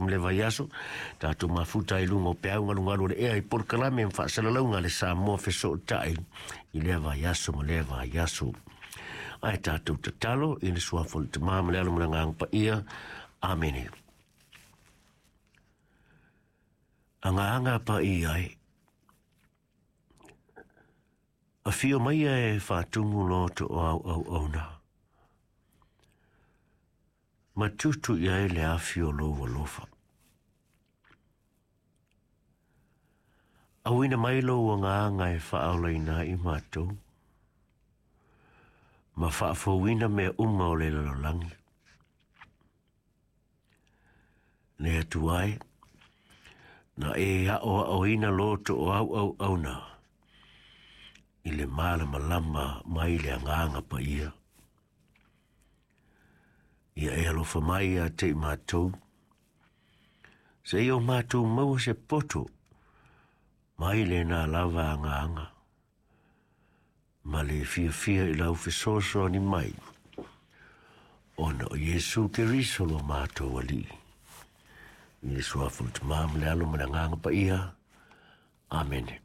ma lea vaiaso, tatou mafuta ai i luga o peau galugalu o le ea i polokalame ma faasalalauga a le Samoa Fesootai i lea vaiaso ma lea vaiaso. Ae tatou tatalo i le suafa o le Tama ma le Alo ma le Agaga Paia. Amene. Agaga Paia e, afio maia e faatumu lo toau auauna. Ma tutu i ai le afi o lou alofa. Auina mai lou agaga e faaolaina ai matou, ma faafouina mea uma o le lalolagi. Le Atua e, na e aoaoina lo toau auauna i le malamalama mai le agaga paia. Ia e alofa mai ia te i matou, seia o matou maua se poto mai lena lava agaga, ma le fiafia i lau fesoasoani mai, ona o Iesu Keriso lo matou Alii. I le suafa o le Tama ma le Alo ma le Agaga Paia. Amene.